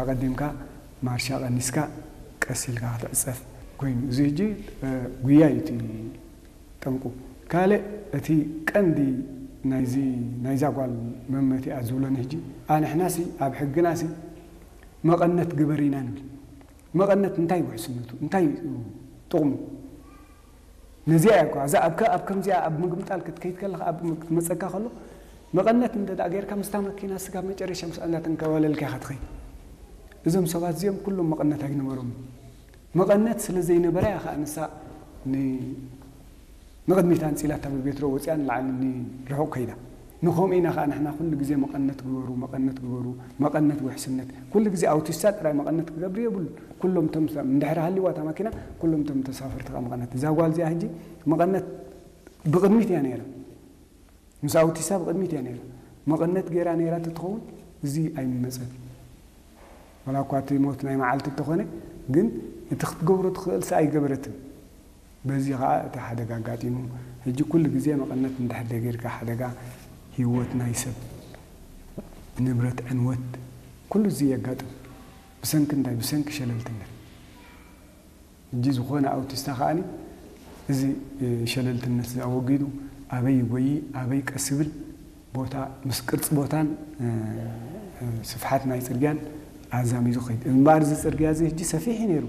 ኣቐዲምካ ማርሻ ቀኒስካ ቀስ ኢልካ ክትዕጸፍ ኮይኑ፣ እዚ ሕጂ፣ እ፣ ጉያ እዩ እቲ ጠንቁ። ካልእ እቲ ቀንዲ ናይዚ፣ ናይዛ ጓል መመቲኣ ዝብሎኒ ሕጂ፣ ኣንሕናሲ ኣብ ሕግናሲ መቐነት ግበር ኢና ንብል። መቐነት እንታይ ውሕስነቱ? እንታይ እዩ ጥቕሙ? ነዚኣ እያ እኮ፣ እዛ ኣብ ከ-፣ ኣብ ከምዚኣ ኣብ ምግምጣል ክትከይድ ከለኻ፣ ኣብ ም-፣ ክትመጸካ ከሎ፣ መቐነት እንተ ደኣ ጌርካ፣ ምስታ መኪና ስጋብ መጨረሻ ምስኣ እንዳተንከባለልካ ኢኻ ትኸይድ። እዞም ሰባት እዚኦም ኩሎም መቐነት ኣይነበሮም። መቐነት ስለ ዘይነበራ እያ ኸኣ ንሳ ን-፣ ንቕድሚት ኣንጺላታ ብቤትሮ ወጺኣ ንላዕሊ ንርሑቕ ከይዳ። ንኸምኡ ኢና ኸኣ ንሕና ኩሉ ግዜ መቐነት ግበሩ፣ መቐነት ግበሩ፣ መቐነት ውሕስነት። ኩሉ ግዜ ኣውቲስታ ጥራይ መቐነት ክገብር የብሉን። ኩሎም እቶም ሰብ-፣ እንድሕር ሃልይዋ እታ መኪና፣ ኩሎም እቶም ተሳፈርቲ ኸኣ መቐነት። እዛ ጓል እዚኣ ሕጂ መቐነት ብቕድሚት እያ ነይራ። ምስ ኣውቲስታ ብቕድሚት እያ ነይራ። መቐነት ገይራ ነይራ ተትኸውን፣ እዚ ኣይምመጸን። ዋላ እኳ እቲ ሞት ናይ መዓልቲ እንተኾነ፣ ግን እቲ ክትገብሮ ትኽእልሲ ኣይገበረትን። በዚ ኸኣ እቲ ሓደጋ ኣጋጢሙ። ሕጂ ኩሉ ግዜ መቐነት እንድሕር ደይጌርካ ሓደጋ ህይወት ናይ ሰብ፣ ንብረት ዕንወት፣ ኩሉ እዚ የጋጥም። ብሰንኪ እንታይ? ብሰንኪ ሸለልትነት። ሕጂ ዝኾነ ኣውቲስታ ከኣኒ እዚ፣ እ፣ ሸለልትነት እዚ ኣወጊዱ ኣበይ ይጎዪ፣ ኣበይ ቀስ ይብል፣ ቦታ ምስ ቅርጺ ቦታን፣ እ፣ እ፣ ስፍሓት ናይ ጽርግያን ኣዛሚዱ ከይድ። እምበኣር እዚ ጽርግያ እዚ ሕጂ ሰፊሕ እዩ ነይሩ።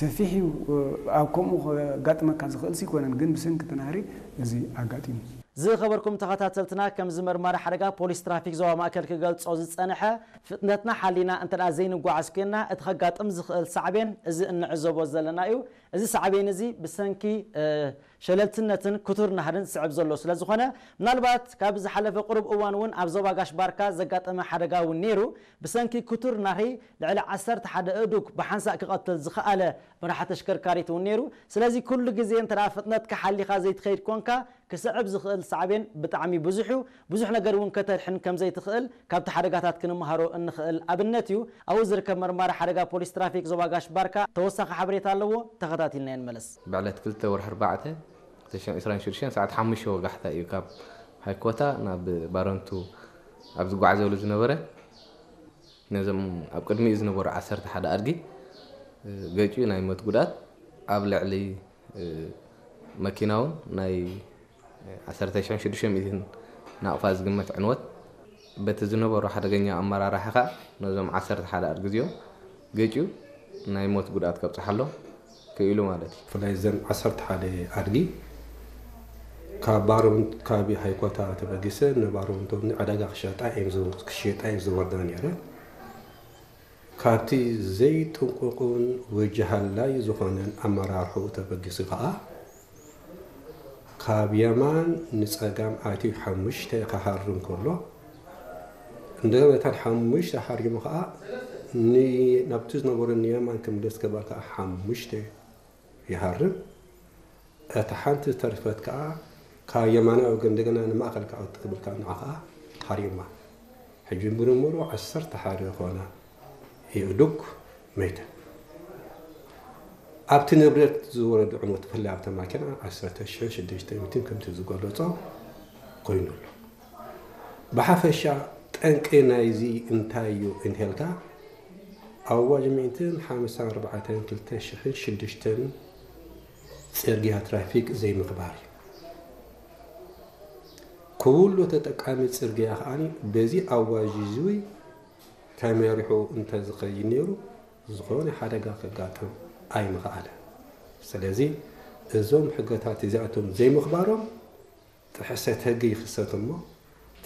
ሰፊሕ እዩ፣ እ፣ ኣብ ከምኡ ከጋጥመካ ዝኽእልሲ ኣይኮነን፣ ግን ብሰንኪ እቲ ናህሪ እዚ ኣጋጢሙ። ዝኸበርኩም ተኸታተልትና፣ ከምዚ መርማሪ ሓደጋ ፖሊስ ትራፊክ ዞባ ማእከል ክገልጾ ዝጸንሐ፣ ፍጥነትና ሓሊና እንተ ደኣ ዘይንጓዓዝ ኮይንና፣ እቲ ከጋጥም ዝኽእል ሳዕቤን እዚ እንዕዘቦ ዘለና እዩ። እዚ ሳዕቤን እዚ ብሰንኪ፣ እ፣ ሸለልትነትን ክቱር ናህርን ዝስዕብ ዘሎ ስለ ዝኾነ፣ ምናልባት ካብ ዝሓለፈ ቁሩብ እዋን እውን ኣብ ዞባ ጋሽ ባርካ ዘጋጠመ ሓደጋ እውን ነይሩ። ብሰንኪ ክቱር ናህሪ ልዕሊ ዓሰርተ ሓደ ኣእዱግ ብሓንሳእ ክቐትል ዝኸኣለ መራሒ ተሽከርካሪት እውን ነይሩ። ስለዚ ኩሉ ግዜ እንተ ደኣ ፍጥነትካ ሓሊኻ ዘይትኸይድ ኮንካ፣ ክስዕብ ዝኽእል ሳዕቤን ብጣዕሚ ብዙሕ እዩ። ብዙሕ ነገር እውን ከተድሕን ከም ዘይትኽእል ካብቲ ሓደጋታት ክንመሃሮ እንኽእል ኣብነት እዩ። ኣብኡ ዝርከብ መርማሪ ሓደጋ ፖሊስ ትራፊክ ዞባ ጋሽ ባርካ ተወሳኺ ሓበሬታ ኣለዎ። ተኸታቲልና ንመለስ። ብዕለት ክልተ ወርሒ ኣርባዕተ ክልተ ሽሕን ዕስራን ሽዱሽተን ሰዓት ሓሙሽተ ወጋሕታ እዩ ካብ ሃይኮታ ናብ ባረንቱ ኣብ ዝጓዓዘሉ ዝነበረ። ነዞም ኣብ ቅድሚኡ ዝነበሩ ዓሰርተ ሓደ ኣድጊ፣ እ፣ ገጭዩ ናይ ሞት ጉድኣት፣ ኣብ ልዕሊ፣ እ፣ መኪና እውን ናይ ዓሰርተ ሽሕን ሽዱሽተ ሚእትን ናቕፋ ዝግመት ዕንወት፣ በቲ ዝነበሩ ሓደገኛ ኣመራርሓ ኸኣ ነዞም ዓሰርተ ሓደ ኣድጊ እዚኦም ገጭዩ ናይ ሞት ጉድኣት ከብጽሓሎም ክኢሉ ማለት እዩ። ብፍላይ እዘን ዓሰርተ ሓደ ኣድጊ ካብ ባረንቱ፣ ካብ ሃይኮታ ተበጊሰን ንባረንቱ ንዕዳጋ ክሸጣ እየን ዝው-፣ ክሸጣ እየን ዝወርዳ ነይረን። ካብቲ ዘይጥንቁቕን ወጀሃላይ ዝኾነን ኣመራርሕኡ ተበጊሱ ከኣ፣ ካብ የማን ንጸጋም ኣትዩ ሓሙሽተ ክሃርም ከሎ፣ እንደገና እተን ሓሙሽተ ሃሪሙ ከኣ ን-፣ ናብቲ ዝነበሮ ንየማን ክምለስ ክብል ከኣ ሓሙሽተ ይሃርም። እታ ሓንቲ ዝተረፈት ከኣ ካብ የማናይ ወገን እንደገና ንማእከል ክኣቱ ክብል ከኣ ንዓ ከኣ ሃሪማ። ሕጂ ብድምሩ ዓሰርተ ሓደ ዝኾና የእዱግ መይተን። ኣብቲ ንብረት ዝወረደ ዕንወት፣ ብፍላይ ኣብታ ማኪና፣ ዓሰርተ ሽሕን ሽዱሽተ ሚእትን ከምቲ ዝገለጾ ኮይኑ ኣሎ። ብሓፈሻ ጠንቂ ናይዚ እንታይ እዩ እንተልካ፣ ኣዋጅ ሚእትን ሓምሳን ኣርባዕተን ክልተ ሽሕን ሽዱሽተን ጽርግያ ትራፊክ ዘይምኽባር እዩ። ኩሉ ተጠቃሚ ጽርግያ ከኣ በዚ ኣዋጅ እዚ ተመሪሑ እንተዝኸይድ ነይሩ፣ ዝኾነ ሓደጋ ከጋጥም ኣይምኸኣለን። ስለዚ እዞም ሕግታት እዚኣቶም ዘይምኽባሮም ጥሕሰት ሕጊ ይኽሰት እሞ፣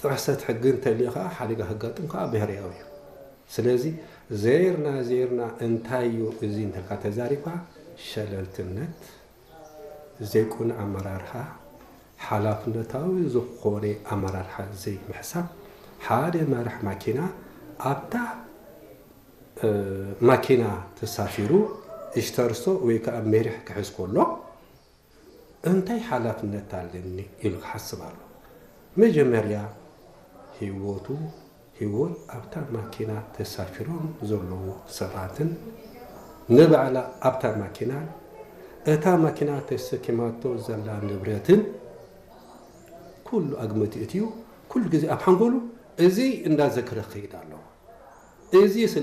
ጥሕሰት ሕጊ እንተልዩ ኸዓ ሓደጋ ከጋጥም ኸዓ ብህርያዊ እዩ። ስለዚ ዘይርና ዘይርና እንታይ እዩ እዚ እንተልካ ተዛሪብካ፣ ሸለልትነት፣ ዘይቁኑዕ ኣመራርሓ፣ ሓላፍነታዊ ዝኾነ ኣመራርሓ ዘይምሕሳብ፣ ሓደ መራሕ ማኪና ኣብታ፣ እ፣ ማኪና ተሳፊሩ እሽተርሶ ወይ ከዓ መሪሕ ክሕዝ ከሎ፣ እንታይ ሓላፍነት ኣለኒ ኢሉ ክሓስብ ኣለዎ። መጀመርያ ህይወቱ፣ ህይወት ኣብታ ማኪና ተሳፊሮም ዘለዉ ሰባትን ንባዕላ ኣብታ ማኪናን እታ ማኪና ተሰኪማቶ ዘላ ንብረትን ኩሉ ኣብ ግምት የእትዩ ኩሉ ግዜ ኣብ ሓንጎሉ እዚ እንዳዘከረ ክኸይድ ኣለዎ። እዚ ስለ